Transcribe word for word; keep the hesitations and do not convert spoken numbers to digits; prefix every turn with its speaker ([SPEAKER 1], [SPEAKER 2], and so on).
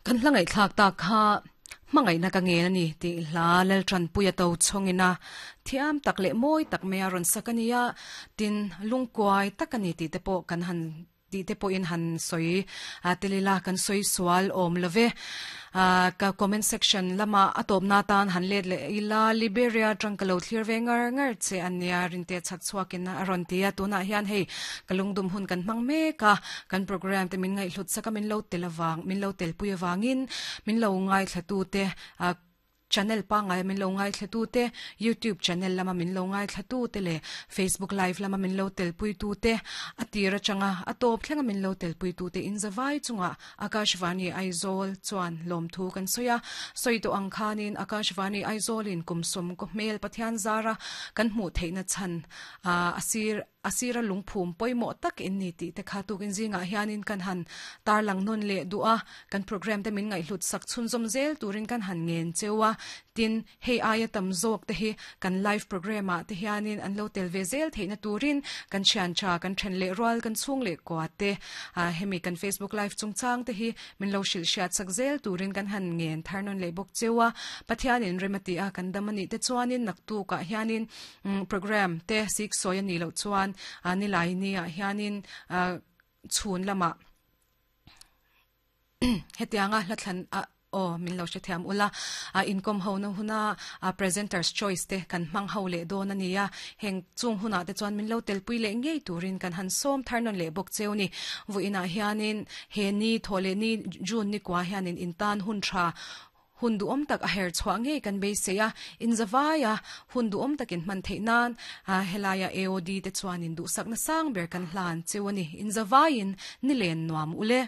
[SPEAKER 1] Kan hla ngaihthlak tak kha hmangaihna ka ngen a ni tih hla Laltanpuia to chhawngina thiam tak leh mawi tak mai a rawn sak a nia. Tin, lungkuai tak a ni tih te pawh kan han tih te pawhin han sawi telila kan sawi sual awm love. Ka comment section lama a tawpna tan han let leh ila Liberia atang ka lo thlir ve ngar ngar che a nia rinte chhak chhuakin a rawn ti a. Tunah hian hei ka lungdum hun kan hmang mek a, kan program te min ngaihhlut sak a, min lo tel avang min lo telpui avangin min lo ngaithla te channel pangai min lo ngaithla tu te, YouTube channel lama min lo ngaithla tu te leh Facebook live lama min lo telpui tu te, a tir atanga a tawp thlenga min lo telpui tu te in zawai chunga Akashvani Aizawl chuan lawmthu kan sawi a. Sawi tawh ang khanin Akashvani Aizawl in kum sawm ko hmel Pathian zara kan hmuh theihna chhan asir asira lungphum pawimawh tak in ni tih te kha tukin zingah hianin kan han tarlang nawn leh duh a. Kan program te min ngaihhlut sak chhunzawm zel turin kan han ngen cheu a. Tin, hei aia tam zawk te hi kan live program ah te hianin an lo tel ve zel theihna turin kan thian tha kan then leh rual kan chhung leh kua te hemi kan Facebook live chungchang te hi min lo hrilh hriat sak zel turin kan han ngen thar nawn leh bawk cheu a. Pathianin remati a kan dam ani te chuanin naktukah hianin program te sik sawi ani loh chuan ni lai ni ah hianin chhun lama hetianga hla thlan a o min lo hre thiam ula inkom ho na huna presenters choice te kan hmang ho leh dawn ania. Heng chung huna te chuan min lo telpui leh ngei turin kan han sawm thar nawn leh bawk cheu ni. Vuinah hianin he ni thawh leh ni June ni kwa hianin in tan hun tha hun duhawm tak a her chhuah ngei kan beisei a. In zawaia hun duhawm takin hman theih nan helaia A O D te chuanin duhsakna sang ber kan hlan cheu ani. In zawaiin ni len nuam ule.